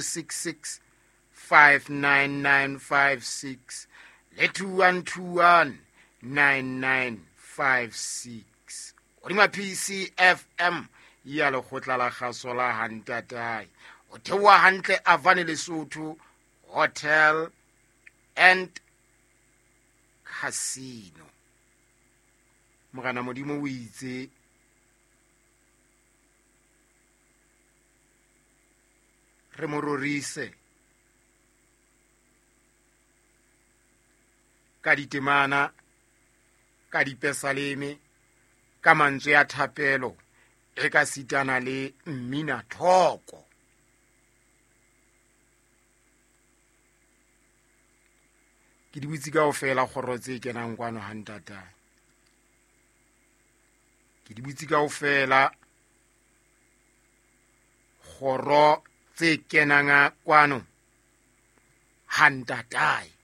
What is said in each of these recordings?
266 59956 le 2121 9956. Godima PCFM ya lekgotla la kgaso la Hantatae. O theoha hantle Avane Lesotho Hotel and Casino. Morena Modimo o itse re mo rorise ka ditemana, ka dipesaleme, ka mantswe a thapelo, e ka sitana le mmina thoko. Ke di butse kaofela kgoro tse kenang kwano ha ntatae. Ke di butse kaofela kgoro tse kenang kwano ha ntatae.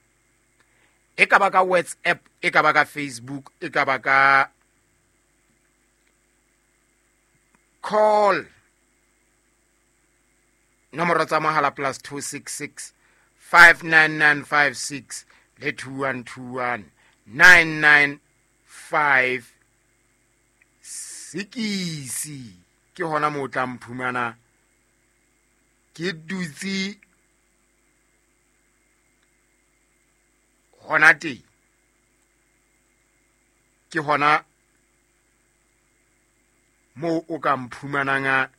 E ka ba ka WhatsApp, e ka ba ka Facebook, e ka ba ka call. Nomoro tsa mohala plus 266 59956 le 2121 9956. Ke hona moo o tla mphumana ke dutse hona teng. Ke hona moo o ka mphumanang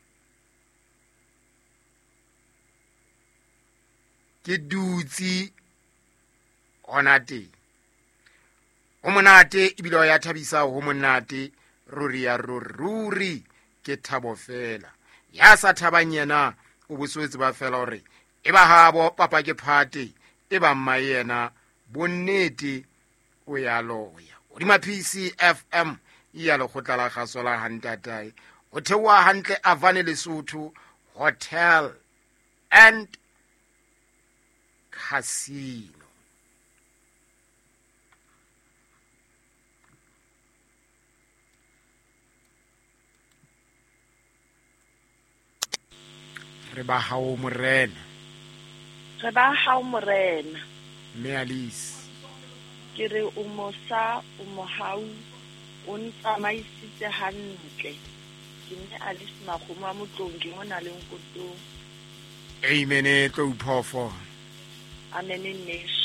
ke dutse hona teng. Ho monate ebile ho ya thabisa, ho monate ruri ya ruri, ke thabo fela. Ya sa thabang yena o boswetse ba fela hore e ba habo papa ke phate, e ba mma yena bonnete o ya loya. Hodima PCFM ya lekgotla la kgaso la Hantatae. O theoha hantle Avane Lesotho Hotel and Casino. Re ba hao morena. Re ba hao morena. Mme Alice. Ke re o mosa, o mohau, o ntsamaisitse hantle. Ke mme Alice Makgomo wa Motlong, ke mona le Nkotong. Amen, tlo uphofo. Amen nneso.